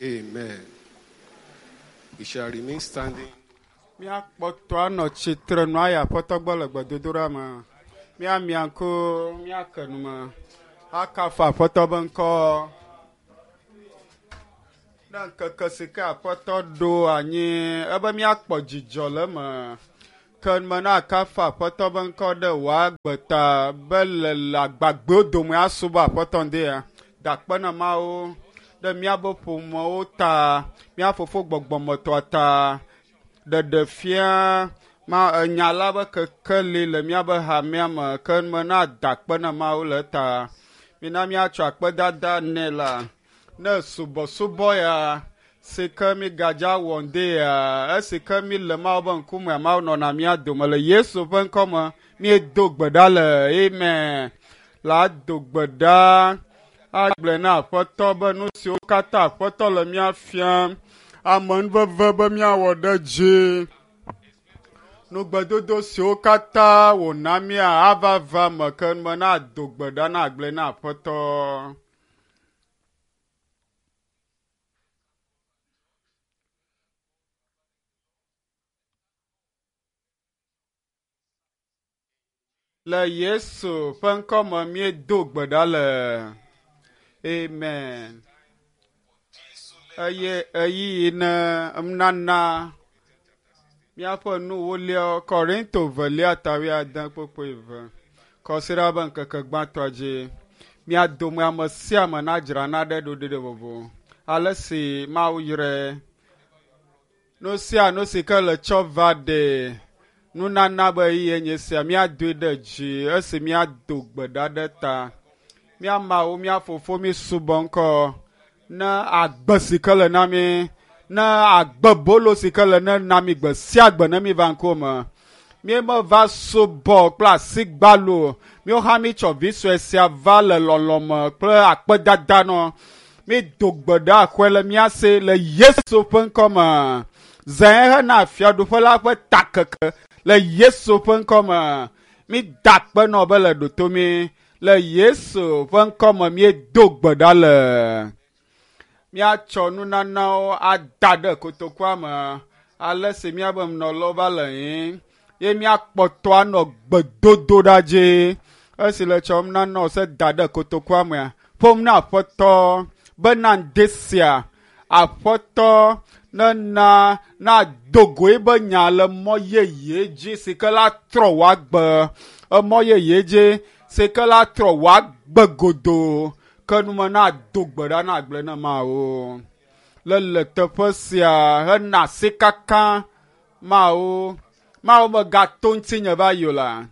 Amen. We shall remain standing. Míakpɔtɔ anɔ tsitre nu ayi Aƒetɔ gbɔ le gbedodoɖa me. Míamia ŋku, míake nu me, akafu Aƒetɔ be ŋkɔ. Ne ŋkeke si ke Aƒetɔ ɖo anyi ebe míakpɔ dzidzɔ le eme. Ke me na akafu Aƒetɔ be ŋkɔ ɖe wò agbe ta be le le agbagbewo dome asubɔ Aƒetɔ ŋdea. Da akpe na Mawu ɖe míabe ƒomewo ta, mía fofo gbɔgbɔmetɔa ta, ɖeɖe fia ma enya la be kekeli le míabe hamea me ke me na da akpe na Mawu le eta. Mina míatsɔ akpedada nɛ la ne subɔsubɔ ya si ke mígadza wɔ ŋdi ya esi ke mí le Mawu be ŋkume Mawu nɔna mía dome le Yesu ƒe ŋkɔ me míedo gbe ɖa le amen la do gbe ɖa agblɔe na Aƒetɔ be nu siwo katã Aƒetɔ le mía fiam amenuveve be míawɔ ɖe dzi nugbedodo siwo katã wòna mía ava va me ke me na do gbe ɖa na agblɔe na Aƒetɔ. Le Yesu ƒe ŋkɔ me míedo gbe ɖa le. Amen. Eye ɣeyiɣi ne nana míaƒe nuwoliawo Korinto velia ta wuiade kpukpui eve. Kɔsiɖa be ŋkeke gbãtɔa dzi. Mía dome ame sia ame nadzra naɖe ɖoɖi ɖe vovo. Ale si Mawu yrae. Nu sia nu si ke le tsɔ va ɖe nunana be ɣeyiɣie nye sia míadoe ɖe dzi esi míado gbe ɖa ɖe ta. Mía Mawu, mía Fofo, mí subɔ ŋkɔ ne agbe si ke le na mí, ne agbe bolo si ke le ne na mí gbe sia gbe ne míva ŋkuwò me. Míemeva subɔ kple asi gbalo o. Míwo hã mítsɔ vi sue sia va le lɔlɔ̃ me kple akpedada nɔ. Mído gbe ɖa xɔe le mía si le Yesu ƒe ŋkɔ me. Zãe hena fiaɖuƒe la ƒe takeke le Yesu ƒe ŋkɔ me. Mída akpe nɔ be le ɖoto mí le Yesu ƒe ŋkɔ me míedo gbe ɖa le. Míatsɔ nunanawo ada ɖe kotokua me ale si míabe nunɔlawo va le yim ye míakpɔtɔ anɔ gbedodoɖa dzi. Esi le tsɔm nanawo se da ɖe kotokua mea, ƒom na Aƒetɔ bena ŋdi sia Aƒetɔ nena nado go ebe nya le mɔ yeye dzi si ke la trɔ wò agbe, emɔ yeye dzi si ke la trɔ wò agbe godoo. Ke nume nado gbe ɖa na agblẽ na Mawu. Le le teƒe sia hena asikaka Mawu. Mawu megato ŋutinye va yi o la.